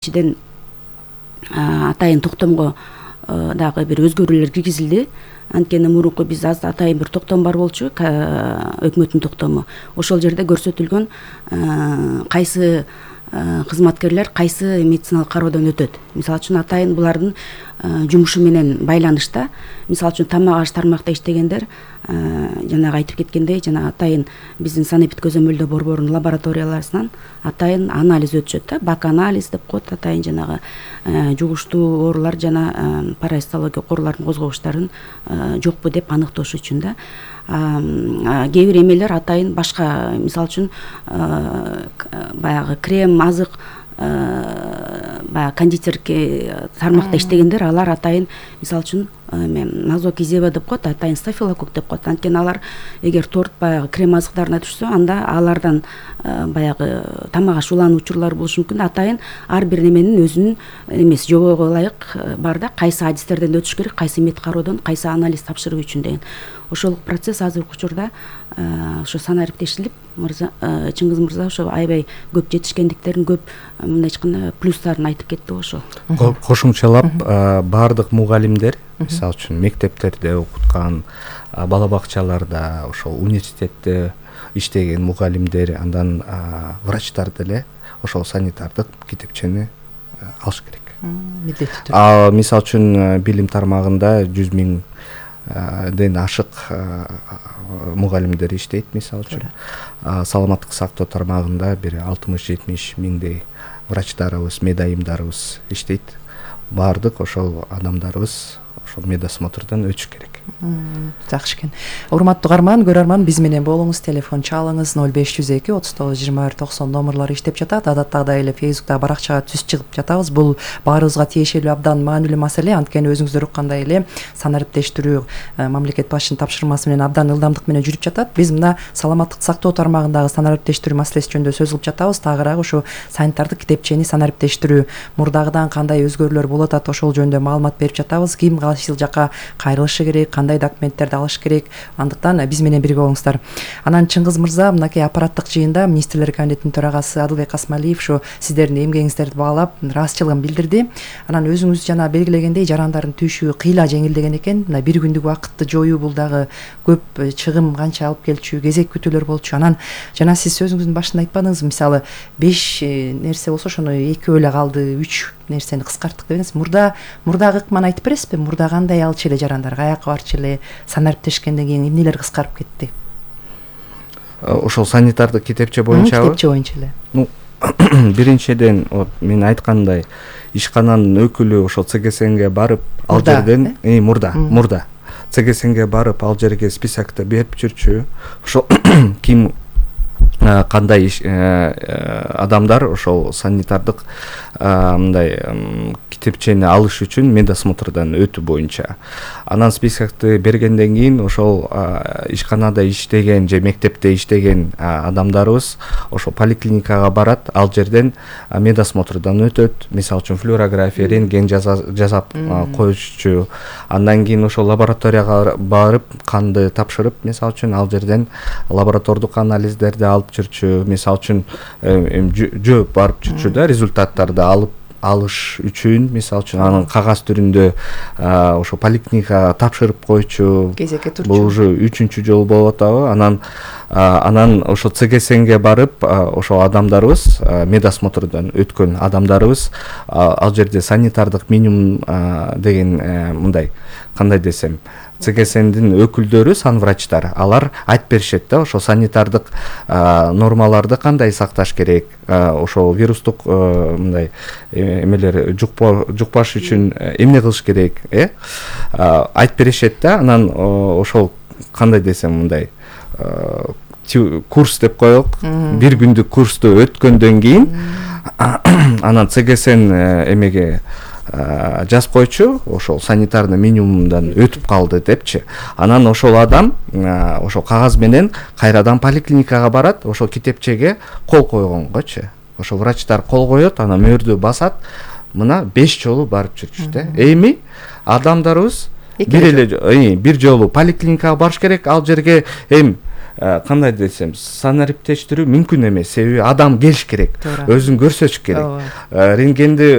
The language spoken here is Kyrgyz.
Чиден атайын токтомго дагы бир өзгөрүүлөр киргизилди. Анткени мурунку биз атайын бир токтом бар болчу, өкмөттүн токтому. Ошол жерде көрсөтүлгөн кайсы кызматкерлер кайсы медициналык кароодон өтөт. Мисалы үчүн атайын булардын жумушу менен байланышта, мисалы үчүн тамак аш тармакта иштегендер жанагы айтып кеткендей, жана атайын биздин санэпид көзөмөлдөө борборунун лабораторияларынан атайын анализ өтүшөт да, бак анализ деп коет, атайын жанагы жугуштуу оорулар жана паразитологиялык оорулардын козгогучтарын жокпу деп аныктош үчүн да. Кээ бир эмелер атайын башка, мисалы үчүн баягы крем, азык, баягы кондитерки тармакта иштегендер, алар атайын мисалы үчүн назокизеба деп коет, атайын стафилококк деп коет. Анткени алар эгер торт баягы крем азыктарына түшсө, анда алардан баягы тамак аш улануу учурлары болушу мүмкүн. Атайын ар бир неменин өзүнүн эмеси жобого ылайык бар да, кайсы адистерден өтүш керек, кайсы мед кароодон, кайсы анализ тапшыруу үчүн деген. Ошол процесс азыркы учурда ошо санариптештилип, Чыңгыз мырза ошо аябай көп жетишкендиктерин, көп мындай айтканда плюстарын айтып кетти ошол. Кошумчалап баардык мугалимдер, мисалы үчүн мектептерде окуткан, бала бакчаларда, ошол университетте иштеген мугалимдер, андан врачтар деле ошол санитардык китепчени алыш керек. Милдеттүү түрдө. Мисалы үчүн билим тармагында 100 миңден ашык мугалимдер иштейт, мисалы үчүн. Саламаттык сактоо тармагында бир 60-70 миңдей врачтарыбыз, медайымдарыбыз иштейт. Баардык ошол адамдарыбыз ошол медосмотрдон өтүш керек. Жакшы экен. Урматтуу угарман, көрөрман, биз менен болуңуз, телефон чалыңыз 0502 39 21 90 номерлары иштеп жатат. Адаттагыдай эле Facebook'та баракчага түз чыгып жатабыз. Бул баарыбызга тиешелүү абдан маанилүү маселе. Анткени өзүңүздөр уккандай эле санариптештирүү мамлекет башчынын тапшырмасы менен абдан ылдамдык менен жүрүп жатат. Биз мына саламаттык сактоо тармагындагы санариптештирүү маселеси жөнүндө сөз кылып жатабыз. Тагыраак ушу санитардык китепчени санариптештирүү мурдагыдан кандай өзгөрүүлөр болуп атат, ошол жөнүндө маалымат берип жатабыз. Ким кайсы жака кайрылышы керек, кандай документтерди алыш керек. Андыктан биз менен бирге болуңуздар. Анан Чыңгыз мырза, мынакей аппараттык жыйында министрлер кабинетинин төрагасы Адылбек Касмалиев ушу сиздердин эмгегиңиздерди баалап ыраазычылыгын билдирди. Анан өзүңүз жана белгилегендей жарандардын түйшүгү кыйла жеңилдеген экен. Мына бир күндүк убакытты жоюу бул дагы көп чыгым канча алып келчү, кезек күтүүлөр болчу. Анан жана сиз сөзүңүздүн башында айтпадыңызбы, мисалы 5 нерсе болсо ошону 2 эле калды, 3 нерсени кыскарттык дедиңиз. Мурдагы ыкманы айтып бересизби? Мурда кандай алчу эле жарандар, каяка барчу эле, санариптешкенден кийин эмнелер кыскарып кетти? Ошол санитардык китепче боюнчабы? Китепче боюнча эле. Биринчиден, мен айткандай, ишкананын өкүлү ошол ЦГСНге барып, ал жерден мурда ЦГСНге барып, ал жерге списокто берип жүрчү. Ошол ким кандай адамдар ошол санитардык мындай китепчени алыш үчүн медосмотрдон өтүү боюнча. Анан списокты бергенден кийин ошол ишканада иштеген же мектепте иштеген адамдарыбыз ошол поликлиникага барат, ал жерден медосмотрдон өтөт. Мисалы үчүн флюорография, рентген жасап коюшчу. Андан кийин ошол лабораторияга барып, канды тапшырып, мисалы үчүн ал жерден лаборатордук анализдерди алып жүрчү. Мисалы үчүн жооп барып жүрчү да, результаттарды алыш үчүн, мисалы үчүн анын кагаз түрүндө ошо поликлиникага тапшырып койчу. Кезекке турчу. Бул уже 3-чү жолу болуп атабы. Анан ошо ЦГСНге барып, ошо адамдарыбыз, медосмотрдон өткөн адамдарыбыз ал жерде санитардык минимум деген мындай, кандай десем, ЦГСНдин өкүлдөрү, санврачтар, алар айтып беришет да, ошо санитардык нормаларды кандай сакташ керек, ошо вирустук мындай эмелер жукпаш үчүн эмне кылыш керек, айтып беришет да. Анан ошол кандай десем, мындай курс деп коелук, бир күндүк курсту өткөндөн кийин анан ЦГСН эмеге жазып койчу, ошол санитарный минимумдан өтүп калды депчи. Анан ошол адам ошол кагаз менен кайрадан поликлиникага барат, ошол китепчеге кол койгонгочу. Ошол врачтар кол коет, анан мөөрдү басат. Мына 5 жолу барып жүрчү да. Эми адамдарыбыз бир жолу поликлиникага барыш керек, ал жерге кандай десем, санариптештирүү мүмкүн эмес, себеби адам келиш керек, Туура. өзүн көрсөтүш керек. Ооба. Рентгенди